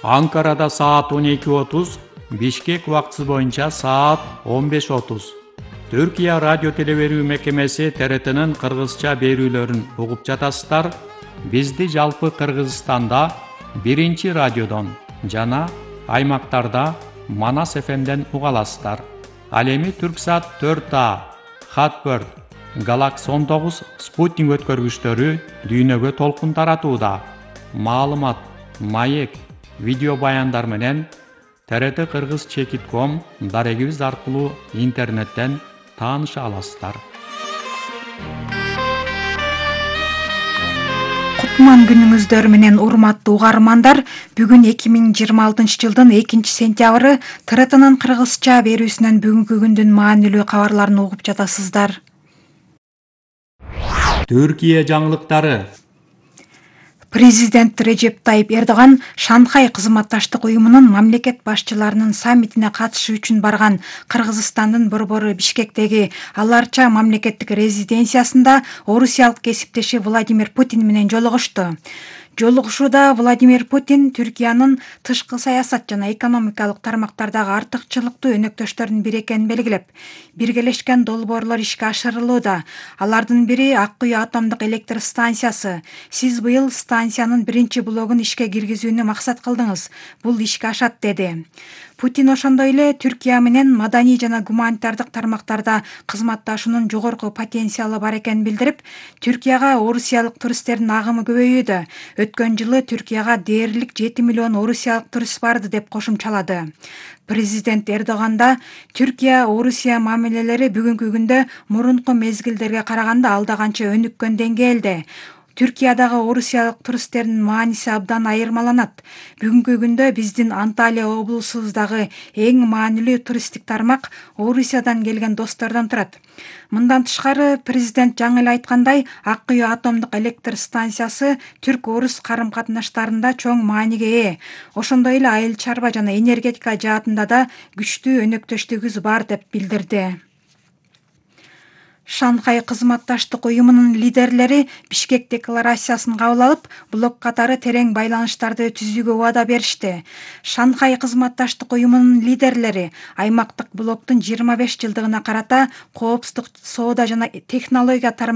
Анкарада саат 12:30, Бишкек убактысы боюнча саат 15:30. Түркия радио телеберүү мекемеси ТРТнын кыргызча берүүлөрүн угуп жатасыздар. Бизди жалпы Кыргызстанда 1 радиодон жана аймактарда Манас ФМден уга аласыздар. Ал эми Түрксат 4А, Хатбird, Galaxy 19 спутник өткөргүчтөрү дүйнөгө толкун таратууда. Маалымат, маек, видео баяндар менен TRT-Kırgız.com дарегибиз аркылуу интернеттен тааныша аласыздар. Кутман күнүңүздөр менен урматтуу угармандар, бүгүн 2026 жылдын 2-сентябры ТРТнын кыргызча берүүсүнөн бүгүнкү күндүн маанилүү кабарларын угуп жатасыздар. Түркия жаңылыктары. Президент Режеп Тайип Эрдоган Шанхай кызматташтык уюмунун мамлекет башчыларынын саммитине катышуу үчүн барган Кыргызстандын борбору Бишкектеги Аларча мамлекеттик резиденциясында орусиялык кесиптеши Владимир Путин менен жолугушту. Жолугушууда Владимир Путин Түркиянын тышкы саясат жана экономикалык тармактардагы артыкчылыктуу өнөктөштөрүнүн бири экенин белгилеп, биргелешкен долбоорлор ишке ашырылууда. Алардын бири Ак Куй атомдук электр станциясы. Сиз быйыл станциянын 1-блогун ишке киргизүүнү максат кылдыңыз. Бул ишке ашат, деди. Путин ошондой эле Түркия менен маданий жана гуманитардык тармактарда кызматташуунун жогорку потенциалы бар экенин билдирип, Түркияга орусиялык туристтердин агымы көбөйүүдө. Өткөн жылы Түркияга дээрлик 7 миллион орусиялык турист барды деп кошумчалады. Президент Эрдоганда Түркия-Орусия мамилелери бүгүнкү күндө мурунку мезгилдерге караганда алда канча өнүккөн деңгээлде. Түркиядагы орусиялык туристтердин мааниси абдан айырмаланат. Бүгүнкү күндө биздин Анталия облусубуздагы эң маанилүү туристтик тармак Орусиядан келген достордон турат. Мындан тышкары, президент жаңы эле айткандай, Ак Куй атомдук электр станциясы түрк-орус карым-катнаштарында чоң мааниге ээ. Ошондой эле айыл чарба жана энергетика жаатында да күчтүү өнөктөштүгүбүз бар деп билдирди. Шанхай кызматташтык уюмунун лидерлери Бишкек декларациясын кабыл алып, блок катары терең байланыштарды түзүүгө убада беришти. Шанхай кызматташтык уюмунун лидерлери аймактык блоктун 25 жылдыгына карата коопсуздук, соода жана технология